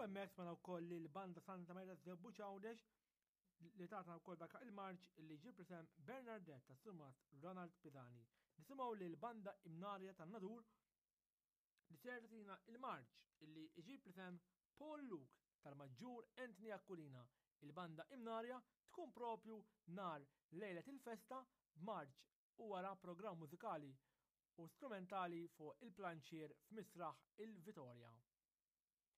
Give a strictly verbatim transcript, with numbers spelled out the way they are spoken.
hemmhekk smajna wkoll lil Banda Santa Marija Żebbuġ Għawdex li tatna wkoll dak il-marċ li ġie bl-isem Bernardette tas-Surmast Ronald Pisani. Nisimgħu lil Banda Imnarja tan-Nadur li ser tagħtina il-marċ illi iġib l-isem Paul Luke tal-Maġġur Anthony Aquilina. Il-Banda Imnarja tkun propju nhar lejlet il-festa b'marċ u wara programm mużikali u strumentali fuq il-planċier f'Misraħ il-Vitorja.